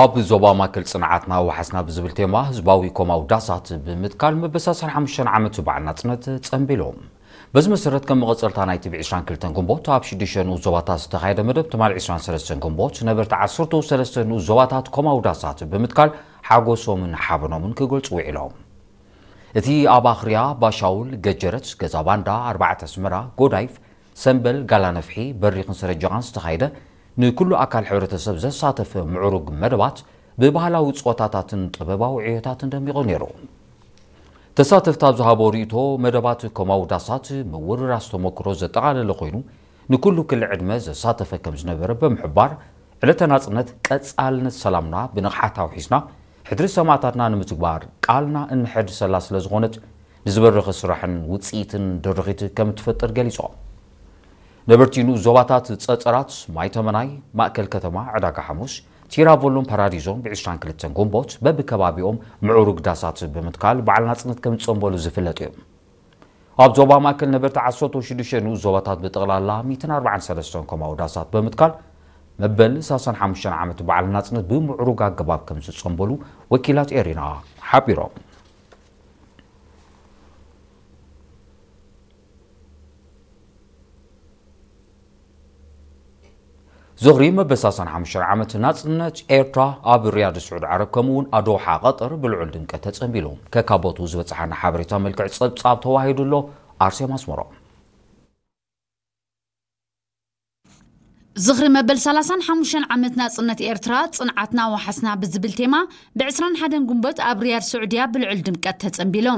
ኣብ ዞባ ማእከል ጽንዓትና ወሓስና ብዝብል ቴማ ህዝባዊ ኮማዊ ዳሳት ብምትካል መበል ሰላሳን ሓሙሽተን ዓመት በዓል ናጽነት ጸንቢሎም። በዚ መሰረት ከም መቐጸልታ ናይቲ ብ ዕስራን ክልተን ግንቦት ኣብ ሽዱሽተ ንኡስ ዞባታት ዝተኻየደ መደብ ትማሊ ዕስራን ሰለስተን ግንቦት ነበርቲ ዓሰርተ ሰለስተ ንኡስ ዞባታት ኮማዊ ዳሳት ብምትካል ሓጎሶምን ሓበኖምን ክገልጹ ውዒሎም። እቲ ኣብ ኣኽርያ፣ ባሻውል፣ ገጀረት፣ ገዛ ባንዳ፣ ኣርባዕተ ኣስመራ፣ ጎዳይፍ፣ ሰምበል፣ ጋላ ነፍሒ፣ በሪኽን ሰረጀቓን ዝተኻየደ ንኩሉ ኣካል ሕብረተሰብ ዘሳተፈ ምዕሩግ መደባት ብባህላዊ ጸወታታትን ጥበባዊ ዕዮታትን ደሚቑ ነይሩ። ተሳተፍቲ ኣብ ዝሃቦ ርእይቶ፣ መደባት ኮማዊ ዳሳት ምውርራስ ተመክሮ ዘጠቓለለ ኮይኑ፣ ንኩሉ ክሊ ዕድመ ዘሳተፈ ከም ዝነበረ ብምሕባር፣ ዕለተ ናጽነት ቀጻልነት ሰላምና ብንቕሓት ኣውሒስና፣ ሕድሪ ሰማእታትና ንምትግባር ቃልና እንሕድሰላ ስለ ዝኾነት፣ ንዝበረኸ ስራሕን ውጽኢትን ድርኺት ከም እትፈጥር ገሊጾም። ነበርቲ ንኡስ ዞባታት ጸጸራት፣ ማይ ተመናይ፣ ማእከል ከተማ፣ ዕዳጋ ሓሙስ፣ ቲራቮሎን ፓራዲዞን ብ ዕስራን ክልተን ግንቦት በብከባቢኦም ምዕሩግ ዳሳት ብምትካል በዓል ናጽነት ከም ዝጸንበሉ ዝፍለጥ እዩ። ኣብ ዞባ ማእከል ነበርቲ ዓሰርተ ሽዱሽተ ንኡስ ዞባታት ብጠቕላላ ሚእትን ኣርባዓን ሰለስተን ኮማዊ ዳሳት ብምትካል መበል ሰላሳን ሓሙሽተን ዓመት በዓል ናጽነት ብምዕሩግ ኣገባብ ከም ዝጸንበሉ ወኪላት ኤሪና ሓቢሮም። ዝኽሪ መበል ሰላሳን ሓሙሽተን ዓመት ናጽነት ኤርትራ ኣብ ሪያድ ስዑድ ዓረብ ከምኡ እውን ኣዶሓ ቀጠር ብልዑል ድምቀት ተጸንቢሉ። ከካቦቱ ዝበጽሓና ሓበሬታ መልክዕ ጸብጻብ ተዋሂዱ ኣሎ። ኣርሴማ ኣስመሮም። ዝኽሪ መበል ሰላሳን ሓሙሽተን ዓመት ናጽነት ኤርትራ ጽንዓትና ወሓስና ብዝብል ቴማ ብ ዕስራን ሓደን ግንቦት ኣብ ሪያድ ስዑድያ ብልዑል ድምቀት ተጸንቢሉ።